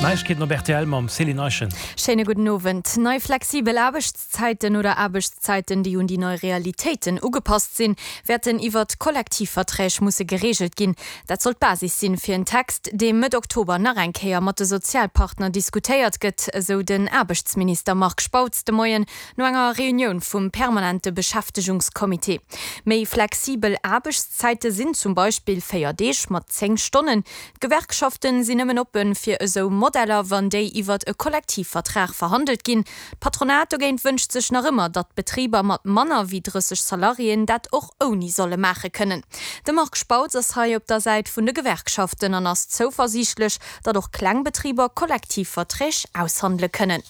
D'Neiegkeeten op rtl mam Céline Eischen. Schéine gudden Owend. Nei flexibel Aarbechtszäiten oder Aarbechtszäiten, déi un déi nei Realitéiten ugepasst sinn, wäerten iwwert Kollektivverträg musse gereegelt ginn. Dat soll d'Basis sinn fir en Text, dee Mëtt Oktober nach eng Kéier mat de Sozialpartner diskutéiert gëtt, esou den Aarbechtsminister Marc Spautz de Moien no enger Reunioun vum permanente Beschäftegungscomité. Méi flexibel Aarbechtszäite sinn zum Beispill 4 Deeg mat 10 Stonnen. D'Gewerkschaften sinn nëmmen oppe fir esou Modeller, wann déi iwwert e Kollektivvertrag verhandelt ginn. D'Patronat dogéint wënscht sech nach ëmmer, datt d'Betriber mat manner wéi 30 Salariéen dat och ouni solle maache kënnen. De Marc Spautz ass hei op der Säit vun de Gewerkschaften an ass zouversiichtlech, datt och kleng Betriber Kollektivverträg aushandele kënnen.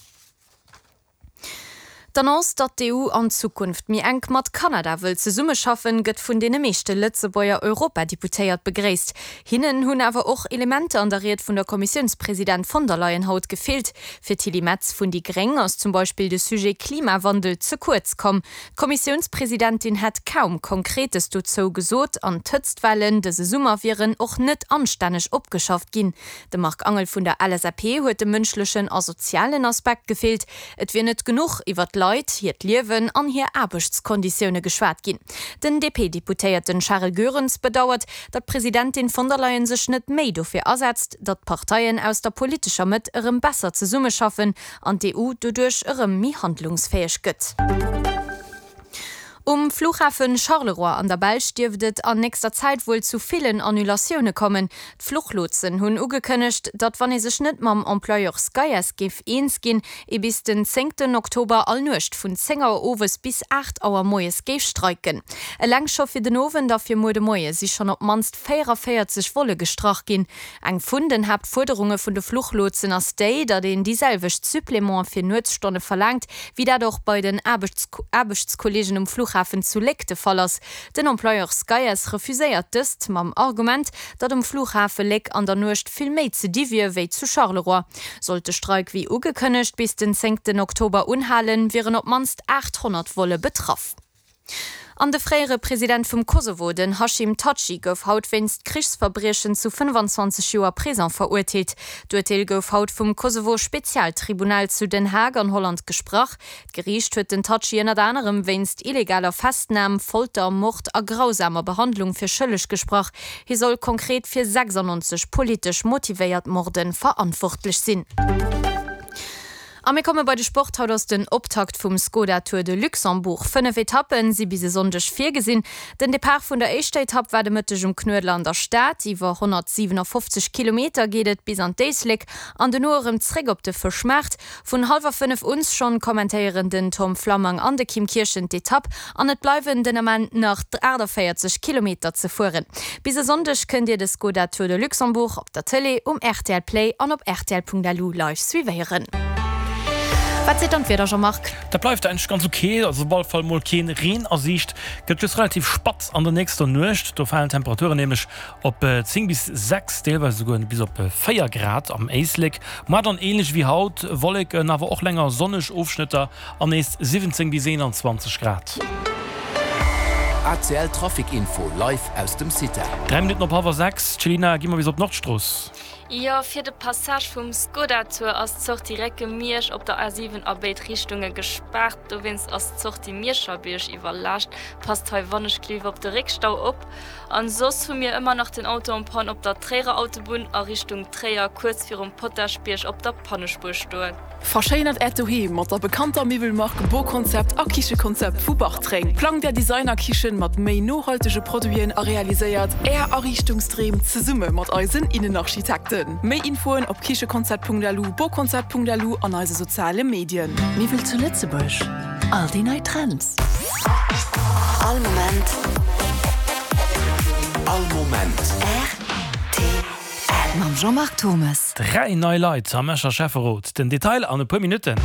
D'Annonce, datt d'EU an Zukunft méi enk mat Kanada wëll zesummeschaffen, gëtt vun deene meeschte Lëtzebuerger Europadeputéiert begréisst. Hinnen hunn awer och Elementer an der Ried vun der Kommissiounspresident von der Leyen haut gefeelt. Fir d'Tilly Metz vun déi Gréng ass zum Beispill de Sujet Klimawandel ze kuerz komm. D'Kommissiounspresidentin hätt kaum Konkretes dozou gesot an d'Hëtztwellen dëse Summer wieren och net anstänneg opgeschafft ginn. Dem Marc Angel vun der LSAP huet de mënschlechen a sozialen Aspekt gefeelt. Et wier net genuch iwwer d'Leit, hiert Liewen an hir Aarbechtskonditioune geschwat ginn. Den DP-Deputéierten Charel Goerens bedauert, datt d'Presidentin von der Leyen sech net méi dofir asetzt, datt d'Parteien aus der politescher Mëtt erëm besser zesummeschaffen an d'EU doduerch erëm méi handlungsfäeg gëtt. Um Flughafen Charleroi an der Belsch dierft et an nächster Zäit wuel zu villen Annulatioune kommen. D'Fluchlotsen hunn ugekënnegt, datt wann ee sech net mam Employeur Skyass géif eens ginn, ee bis den zéngten Oktober all Nuecht vun 10 Auer owes bis 8 Auer moies géif streiken. Eleng scho fir den Owend a fir muer de Moie si schonn op d'mannst 44 Volle gestrach ginn. Eng vun den Haaptfuerderunge vun de Fluchlotsen ass déi, datt een déi selwecht Supplémente fir Nuetsstonne verlaangt, wéi dat och bei den Aarbechtskolleegen um Flughafen zu Léck de Fall ass. Den Employeur Skyass refuséiert dëst mam Argument, datt um Flughafe Léck an der Nuecht vill méi ze di wier wéi zu Charleroi. Sollt de Streik wéi ugekënnegt bis den zéngten Oktober unhalen, wieren op d'mannst 800 Volle betraff. An de fréiere President vum Kosovo, den Hashim Thaçi, gouf haut wéinst Krichsverbriechen zu 25 Joer Prison verurteelt. D'Urteel gouf haut vum Kosovo-Spezialtribunal zu Den Haag an Holland gesprach. D'Geriicht huet den Thaçi ënnert anerem wéinst illegaler Festnam, Folter, Mord a grausamer Behandlung fir schëlleg gesprach. Hie soll konkret fir 96 politesch motivéiert Morde verantwortlech sinn. A mir komme bei de Sport. Haut ass den Optakt vum Skoda Tour de Luxembourg. 5 Etappen si bis e Sonndeg virgesinn. Den Depart vun der éischter Etapp war de Mëtteg um Knuedler an der Stad. Iwwer 157 Kilometer geet et bis an d'Éislek an dono erëm zréck op de Fëschmaart. Vun hallwer 5 un schonn kommentéieren den Tom Flammang an de Kim Kirchen d'Etapp an et bleiwen den Ament nach 48 Kilometer ze fueren. Bis e Sonndeg kënnt Dir de Skoda Tour de Luxembourg op der Tëlee, um rtl Play an op rtl.lu live suivéieren. Wat seet dann d'Wieder, Jean-Marc? Dat bleift eigentlech ganz ok, also op alle Fall mol keen Reen a Siicht. Gëtt just relativ spatz an der nächster Nuecht, do falen d'Temperaturen nämlech op 10 bis 6, deelweis esouguer bis op 4 Grad am Éislek. Moar dann ähnlech wéi haut, Wolleken, awer och länger sonneg Ofschnëtter An nees 17 bis 21 Grad. ACL Trafic Info live aus dem CITEL. 3 Minutten op hallwer 6, Céline, gi mer bis op d'Nordstrooss. Jo, fir de Passage vum Skoda Tour ass d'Sortie Récke Miersch op der A7 a béid Richtunge gespaart. Dowéinst ass d'Sortie Mierscherbierg iwwerlaascht. Passt hei wannechgelift op de Réckstau op. An soss hu mir ëmmer nach den Auto en panne op der Tréierer Autobunn a Richtung Tréier, kuerz virum Potaschbierg op der Pannespuer stoen. Verschéinert Äert Doheem mat der bekannter Miwwelmark Boconcept a Kichekonzept vu Bartreng. Plangt Är Designerkichen mat méi nohaltege Produiten a realiséiert Är Ariichtungsdreem zesumme mat eisen Innenarchitekten. Méi Infoen op kichekonzept.lu, boconcept.lu an eise soziale Medien. Miwwel zu Lëtzebuerg, all déi nei Trends. All Moment. All Moment. Rtl. Mam Jean-Marc Thommes. 3 nei Leit am Escher Schäfferot, den Detail an e puer Minutten.